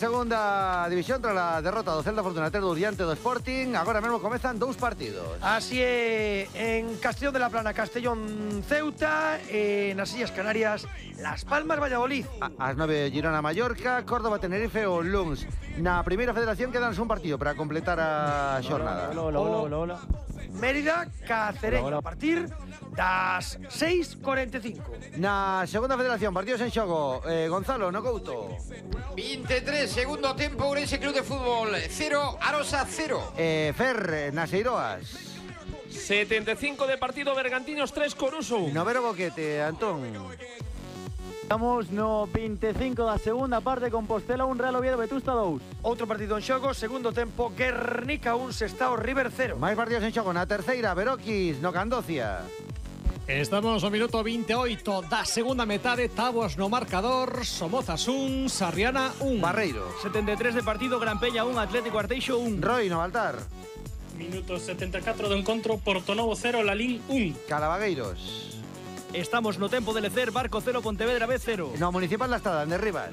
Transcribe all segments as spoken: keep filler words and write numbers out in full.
Segunda división tras a derrota do Celta Fortunateiro diante do Sporting. Agora mesmo comezan dous partidos. Así é, en Castellón de la Plana, Castellón Ceuta, e nas Illas Canarias, Las Palmas Valladolid. A, as nove Girona Mallorca, Córdoba Tenerife ou Luns. Na primeira federación quedan un partido para completar a xornada. Hola, hola, hola, hola, hola. Mérida, Cacereño, a partir das seis e cuarenta e cinco. Na segunda federación, partidos en xogo. eh, Gonzalo, no Couto. veintitrés, segundo tempo, Ourense Club de Fútbol cero, Arosa cero. eh, Fer, nas Eiroas. setenta e cinco de partido, Bergantiños tres, Coruso. Novero Boquete, Antón. Estamos no vinte e cinco da segunda parte, Compostela un, Real Oviedo Vetusta dous. Outro partido en xogo, segundo tempo, Guernica un, Sestao River cero. Máis partidos en xogo. Na terceira, Beroquis, no Candocia. Estamos ao minuto veintioito da segunda metade, Tabos no marcador, Somozas un, Sarriana un. Barreiro. setenta e tres de partido, Gran Peña un, Atlético Arteixo un. Roy, no Baltar. Minuto setenta e catro do encontro, Portonovo cero, Lalín un. Calavagueiros. Estamos no tempo de lecer, Barco cero, Pontevedra B cero. No Municipal da Estada, de Rivas.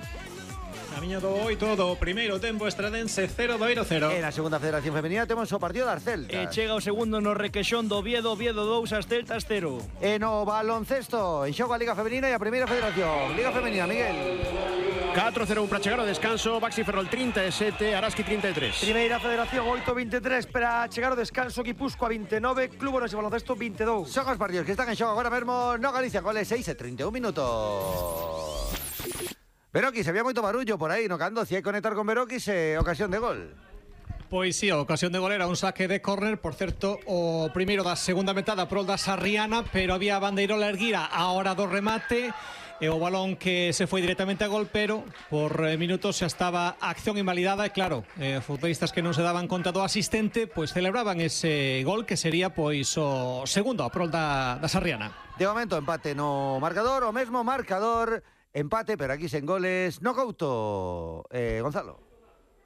Camiño do oito do primeiro tempo, Estradense cero, Doiro cero. En a segunda federación femenina temos o partido das E Celtas. chega o segundo no Requexón do Oviedo, Oviedo dous, as Celtas cero. E no baloncesto, en xogo a Liga Femenina e a Primeira Federación. Liga Femenina, Miguel. catro cero un para chegar ao descanso, Baxi Ferrol trinta e sete, Araski trinta e tres. Primeira Federación oito veintitrés para chegar ao descanso, Guipúzcoa vinte e nove, Club Orense Baloncesto vinte e dous. Son os partidos que están en xogo agora mesmo no Galicia, goles seis e trinta e un minutos. Beroquis, había moito barullo por aí no Cando, si hai conectar con Beroquis e ocasión de gol. Pois sí, a ocasión de gol era un saque de córner, por certo, o primeiro da segunda metade a prol da Sarriana, pero había bandeirola erguira a hora do remate, e o balón que se foi directamente a gol, pero por eh, minutos xa estaba a acción invalidada, e claro, eh, futbolistas que non se daban conta do asistente, pois celebraban ese gol que sería pois o segundo a prol da, da Sarriana. De momento empate no marcador, o mesmo marcador, empate, pero aquí sen goles, no Couto. Eh, Gonzalo.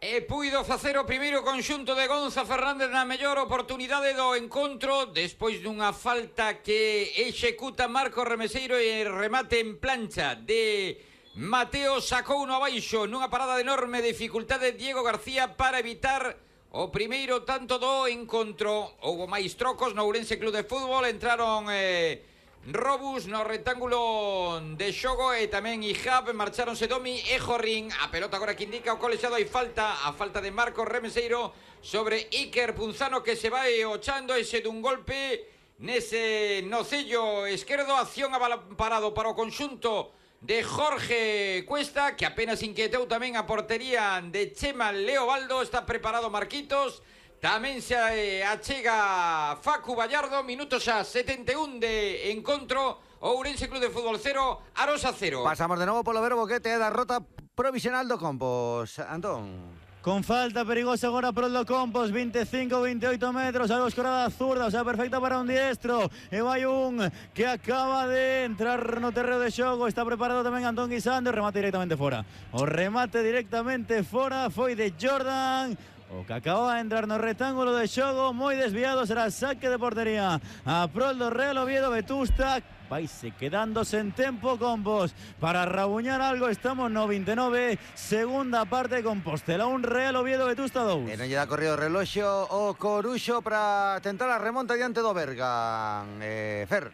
E puido facer o primeiro conxunto de Gonza Fernández na mellor oportunidade do encontro despois dunha falta que executa Marco Remeseiro e remate en plancha de Mateo, sacou uno abaixo nunha parada de enorme dificultade Diego García para evitar o primeiro tanto do encontro. Houbo máis trocos no Ourense Club de Fútbol, entraron eh, Robus no rectángulo de xogo e tamén Ihab, marcharonse Domi e Jorrín. A pelota agora que indica o colexiado, hai falta, a falta de Marcos Remeseiro sobre Iker Punzano, que se vai ochando ese dun golpe nese nocello esquerdo. Acción parado para o conxunto de Jorge Cuesta, que apenas inquietou tamén a portería de Chema Leobaldo. Está preparado Marquitos. Tamén se achega Facu Vallardo. Minutos a setenta e un de encontro. Ourense Club de Fútbol cero, Arosa cero. Pasamos de novo polo Vero Boquete e da rota provisional do Compos. Antón. Con falta perigosa agora por do Compos, veinticinco a veintioito metros, algo escorada zurda, o sea, perfecta para un diestro. E vai un que acaba de entrar no terreo de xogo, está preparado tamén Antón Guisando, remate directamente fora. O remate directamente fora foi de Jordan, o que acaba de entrar no rectángulo de xogo, moi desviado, será saque de portería a prol do Real Oviedo Vetusta. Vaise quedándose en tempo Compos para rabuñar algo. Estamos no vinte e nove, segunda parte, Compostela un, Real Oviedo Vetusta dous. E non lle dá corrido o reloxo o Coruxo para tentar a remonta diante do Bergan. eh, Fer.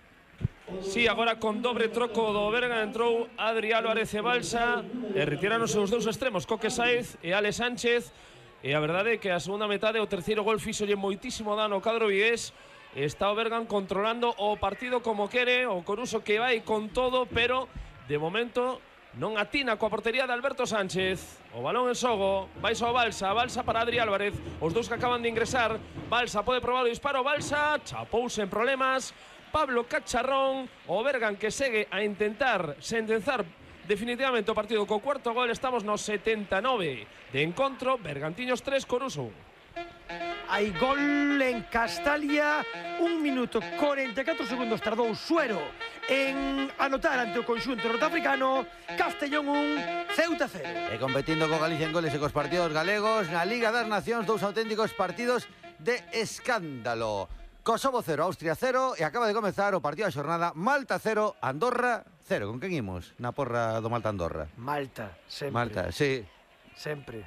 Sí, agora con dobre troco do Bergan entrou Adri Álvarez e Balsa, e retiráronse os dous extremos, Coque Saez e Ale Sánchez. E a verdade é que a segunda metade o terceiro gol fixolle moitísimo dano ao cadro vigués. Está o Bergan controlando o partido como quere, o Coruso que vai con todo, pero de momento non atina coa portería de Alberto Sánchez. O balón en xogo, vai ao Balsa, Balsa para Adri Álvarez, os dous que acaban de ingresar. Balsa pode probar o disparo, Balsa chapouse en problemas, Pablo Cacharrón. O Bergan que segue a intentar sentenzar definitivamente o partido co cuarto gol. Estamos no setenta e nove de encontro, Bergantiños tres, Coruso. Hai gol en Castalia, un minuto cuarenta e catro segundos tardou Suero en anotar ante o conxunto norteafricano. Castellón un, Ceuta cero. E competindo co Galicia en goles e cos partidos galegos na Liga das Nacións, dous auténticos partidos de escándalo. Kosovo cero, Austria cero, e acaba de comezar o partido da xornada. Malta cero, Andorra cero. Con quen imos na porra do Malta Andorra? Malta, sempre. Malta, sí. Sempre.